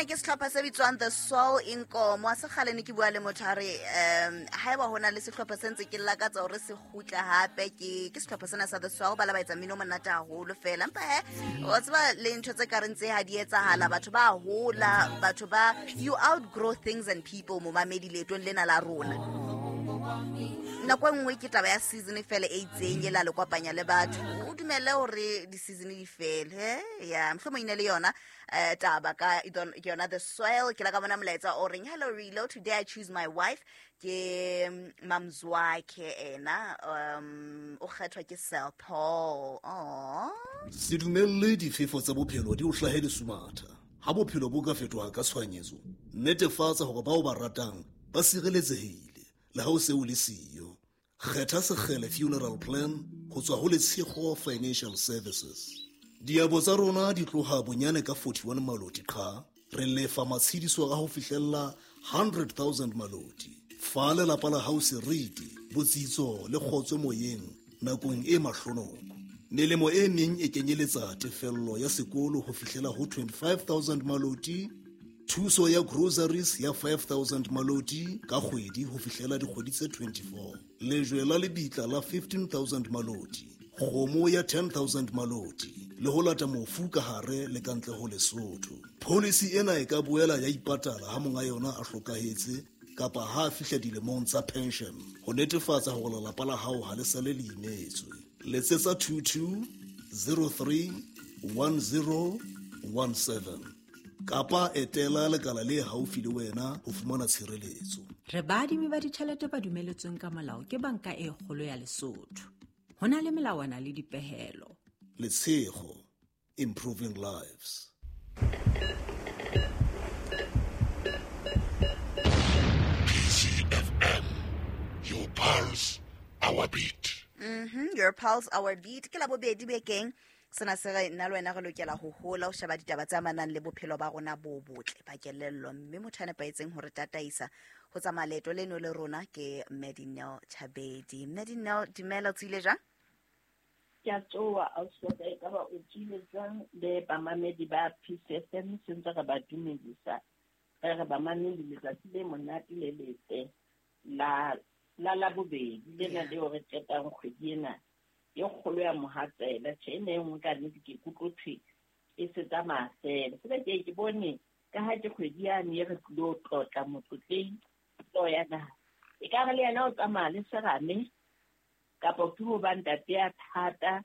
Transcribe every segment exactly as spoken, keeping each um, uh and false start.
Ke sehlopha se bitswang The Soul Inkomo. A se kgale ne ke bua le motho a re um haeba ho na le sehlopha se ntse ke lakatsa hore se kgutle hape ke ke sehlopha sena sa The Soul, ba la ba etsa mmino o monate haholo fela. Empa he, wa tseba le ntho tse kareng tse ha di etsahala, batho ba hola, batho ba, you outgrow things and people. Momamedi, leetong lena la rona, nako e nngwe ke taba ya season fela e itseng e la le kopanya le batho. O dumele hore di-season di fele. He, ya mohlomong e ne le yona um taba ka ke yona The Soil. Ke la ka bona molaetsa o reng, "Hello Relo, today I choose my wife." Ke Mamzwakhe ena, um o kgethwa ke Sel Paul. Oh. Se dumelle difefo tsa bophelo di o hlahe lesumatha. Ha bophelo bo ka fetoha ka tshohanyetso, netefatsa hore bao ba ratang ba sireletsehile le ha o se o le siyo. Kgetha Sekgele Funeral Plan ho tswa ho Letshego Financial Services. Diabo tsa rona di tloha bonyane ka forty-one maloti qha. Re lefa matshediso a ho fihlella one hundred thousand maloti. Fa lelapa la hao seriti, botsitso le kgotso moyeng nakong e mahlonoko. Melemo e meng e kenyeletsa tefello ya sekolo ho fihlela ho twenty-five thousand maloti, thuso ya groceries ya five thousand maloti ka kgwedi ho fihlela dikgwedi tse twenty-four, lejwe la lebitla la fifteen thousand maloti, kgomo ya ten thousand maloti le ho lata mofu ka hare le ka ntle ho Lesotho. Policy ena e ka boela ya ipatala ha monga yona a hlokahetse kapa ha a fihla dilemong tsa pension, ho netefatsa hore lelapa la hao ha le sale le imetswe. Letsetsa twenty-two zero three ten seventeen kapa etela lekala le haufi le wena ho fumana tshireletso. Re baadimi ba ditjhelete ba dumeletsweng ka molao ke Banka e Kgolo ya Lesotho. Ho na le melawana le dipehelo. Letshego, improving lives. P C F M, your pulse, our beat. Mhm, your pulse, our beat. Ke la bobedi bekeng sena se re nna le wena re lokela ho hola, ho sheba ditaba tse amanang le bophelo ba rona bo botle ba kelello, mme motho a nepahetseng hore tataisa ho tsamaya leeto leno le rona ke Medinel Chabedi. Medinel, dumela, o tswile jwang? Ke a tsoha, ausi, e ka ba o tswile jwang le bamamedi ba P C F M? Sentse re ba dumedisa, re re bamamedi, letsatsi le monate le letle la la Labobedi lena leo re qetang kgwedi ena e kgolo ya mohatsela. Tjhe, ena e nngwe ka nnete ke ikutlwe thwe e se tsamaya fela fela. Ke ke bone ka ha ke kgwedi yane e re tlilo tlotla motlotleng hlooho ya naha, e ka re le yena o tsamaya le serame kapa ke ho ba ntate ya thata,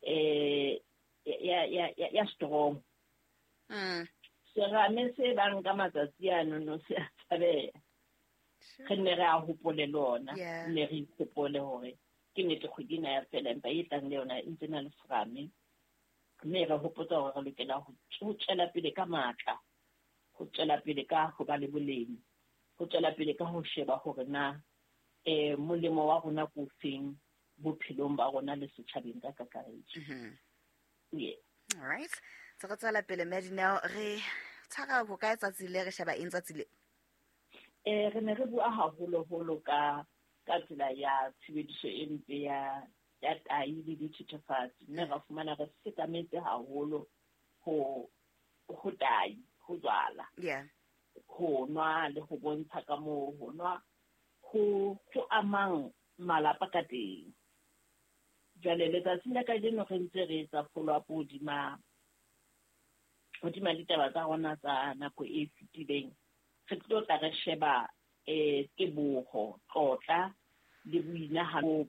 eh ya ya ya ya strong. mm. Serame se bang ka matsatsi ano no se a tshabeha. Re nne re a hopole le ona, Yeah. nne re ikhopole hore ke nnete kgwedi ena ya fela, empa e tlang le yona e ntse na le serame, mme re hopotsa hore re lokela ho ho tswela pele ka matla, ho tswela pele ka ho ba le boleng, ho tswela pele ka ho sheba hore na eh molemo wa rona ke ofeng bophelong ba rona le setjhabeng ka kakaretso. Mhm. Yeah. All right, tse re tswela pele, Medinel, re tshwara ho kae tsatsi le, re sheba eng tsatsi le? eh re ne re bua haholoholo ka ka tsela ya tshebediso e mpe ya ya tai le dithethefatsi, mme ra fumana re sekametse haholo ho ho tai, ho jwala, yeah ho nwa le ho bontsha ka moo ho nwa ho ho amang malapa ka teng. Jwale letsatsing la kajeno re ntse re etsa follow up hodima hodima ditaba tsa rona tsa nako e fetileng. Re tlo tla re sheba eh teboho, tlotla le boinahano bo